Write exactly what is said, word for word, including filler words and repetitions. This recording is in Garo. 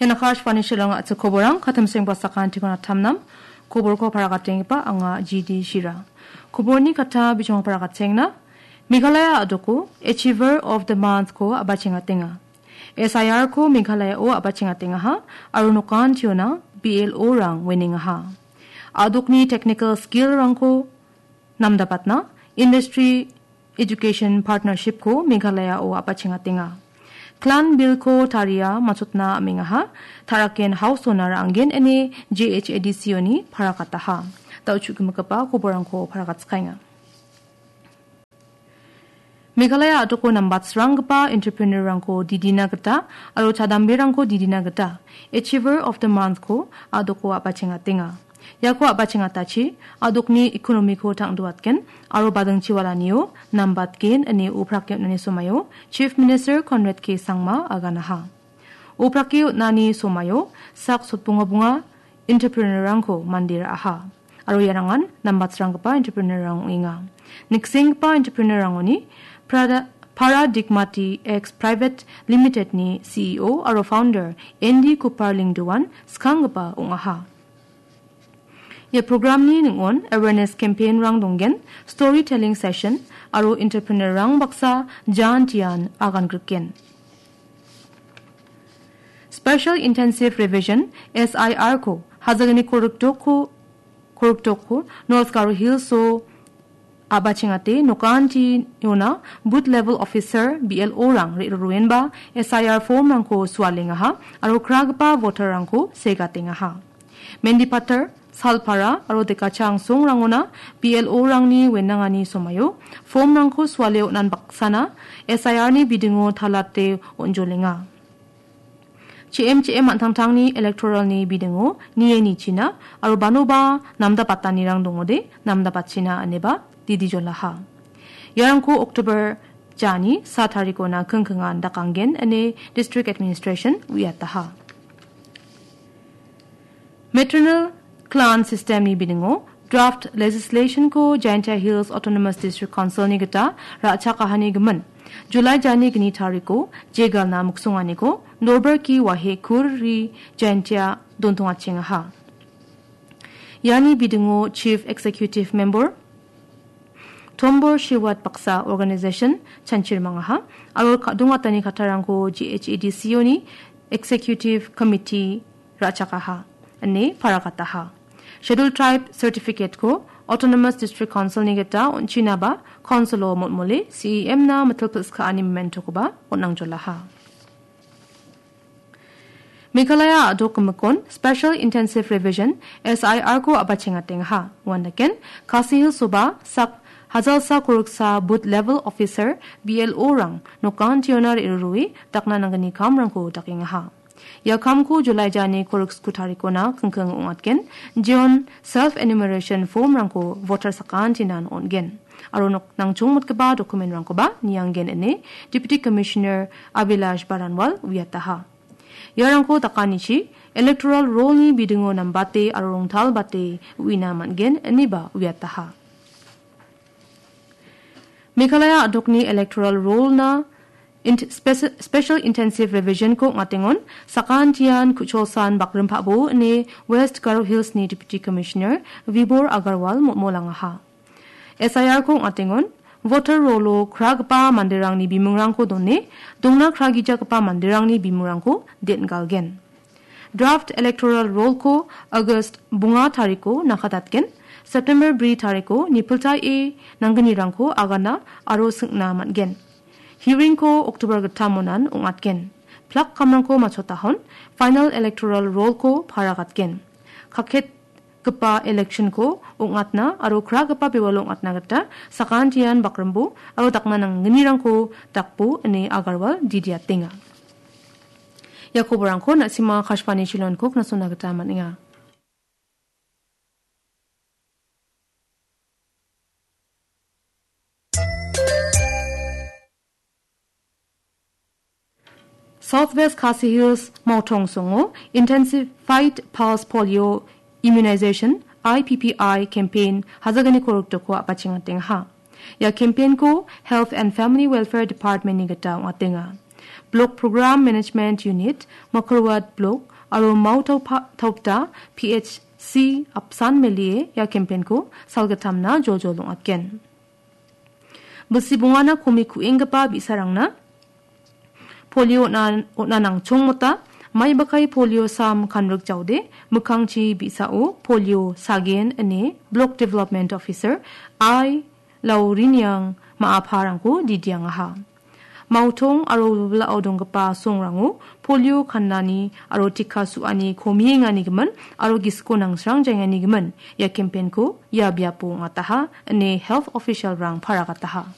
Ian Akashvani Shillong a·chik koborang, katim sengbasakan tikon atamnam, koborko paragatengipa anga G D Shira. Koborni kata bijong paragatenga, Meghalaya a·doko Achiever of the Month ko a·bachengatenga. S I R ko Meghalaya o a·bachengatengaha, aro nokan tiona B L O rang winning aha. A·dokni technical skill rangko namdapatna, Industry Education Partnership ko Meghalaya o a·bachengatenga. Clan Bill ko taria machotna amengaha, taraken House Donor anggen ine J H A D C oni parakataha. Dao chu gimigipa koborangko parakatskenga. Meghalaya a·doko nambatsranggipa entrepreneur-rangko didina gita aro chadamberangko didina gita Achiever of the Month ko a·doko a·bachengatenga. Iako a·bachengatachi a·dokni economy-ko tangduatgen aro badingchiwalanio nambatgen ine uprake on·ani somaio Chief Minister Conrad K Sangma aganaha. Uprake on·ani somaio sak sotbonga bonga entrepreneur-rangko mande ra·aha. Aro iarangan nambatsranggipa entrepreneur-rang ong·enga. Niksenggipa entrepreneur-rangoni Prada-, Paradigmati X Private Limited-ni C E O aro founder Andy Kupar Lyngdoh-an skanggipa ong·aha. Ia programni ning·on awareness campaign-rang donggen, storytelling session aro entrepreneur-rang baksa jan tian agan griken. Special Intensive Revision, S I R ko, Hajagani Korukdoko, Korukdoko, North Garo Hills-o a·bachengate nokanti yona Booth Level Officer, B L O-rang re·roroenba S I R form-rangko sualengaha aro kragipa voter-rangko segatengaha. Mendipathar, Salpara aro Dekacha Angsongrangona B L O-rangni wenangani somaio form-rangko suale on·an baksana S I R-ni bidingo talate on·jolenga. Chim chim an·tangtangni electoral-ni bidingo nie nichina aro banoba namdapatanirang dongode namdapatchina ineba didijolaha. Iarangko October jani sa tarikona kingkingan dakanggen ine District Administration uiataha. Maternal Clan System-ni bidingo draft legislation-ko Jaintia Hills Autonomous District Council-ni gita ra·chakahani gimin, July jani gni tariko jegalna miksonganiko Norberki Wahe Kur Ri Jaintia dontongachengaha. Iani bidingo Chief Executive Member Tombor Shiwat baksa organization chanchirmangaha aro ka-, dongatani kattarangko G H A D C-oni Executive Committee ra·chakaha, ine parakataha. Schedule Tribe Certificate-ko Autonomous District Council-ni gita on·chinaba Council-o motmole C E M-na mitil pil·skaani memento-koba on·angjolaha. Meghalaya a·dok gimikon Special Intensive Revision, S I R-ko a·bachengatengaha. Uandaken, Khasi Hills-oba sak hajalsa koroksa Booth Level Officer, B L O-rang nokan tiona re·rurue dakna nanggni kamrangko dakengaha. Ia kamko July jani koroksko tarikona kingking ong·atgen, jeon self enumeration form-rangko voter sakantinan on·gen. Aro nok-, nangchongmotgipa document-rangkoba nianggen ine Deputy Commissioner Abhilash Baranwal uiataha. Iarangko dakanichi electoral roll-ni bidingo nambate aro rongtalbate uina man·gen ineba uiataha. Meghalaya a·dokni electoral roll-na int-, speci-, Special Intensive Revision-ko ong·atengon sakantian Kucholsan Bakrimpabo ine West Garo Hills-ni Deputy Commissioner Vibhor Agarwal motmolangaha. S I R-ko ong·atengon voter roll-o kragipa manderangni bimungrangko done, dongna kragijagipa manderangni bimungrangko den·galgen. Draft electoral roll-ko August bonga tariko nakatatgen, September bri tariko nipiltae nanggnirangko agana aro singna man·gen. Hearing-ko October gittam monan ong·atgen. Plak kamrangko machotahon final electoral roll-ko paragatgen. Kaketgipa election-ko ong·atna aro kragipa bewalo ong·atna gita sakantian bakrimbo aro dakna nanggnirangko dakbo ine Agarwal didiatenga. Ia koborangko na·sima Akashvani Shillong-ko knasona gita man·enga. Southwest Khasi Hills Mawthongsongo Intensified Pulse Polio Immunization, I P P I, campaign hajagni korokdoko a·bachengatengaha. Ia campaign-ko Health and Family Welfare Department-ni gita ong·atenga. Block Program Management Unit, Makarwat Block, aro Mao Taupa-, Taupta P H C apsan melie ia campaign-ko salgittamna joljol ong·atgen. Bilsi bongana komi ku·enggipa bi·sarangna polio on·a, on·a nangchongmota, maibakai polio sam kanrik jaode, mikkangchi bi·sao polio sagen ine Block Development Officer I Lauriniang ma·aparangko didiangaha. Mautong aro wilwilao donggipa songrango polio kannani aro tika su·ani komienganigimin aro gisiko nangsrang jaenganigimin ia campaign-ko ia biapo ong·ataha, ine health official-rang paragataha.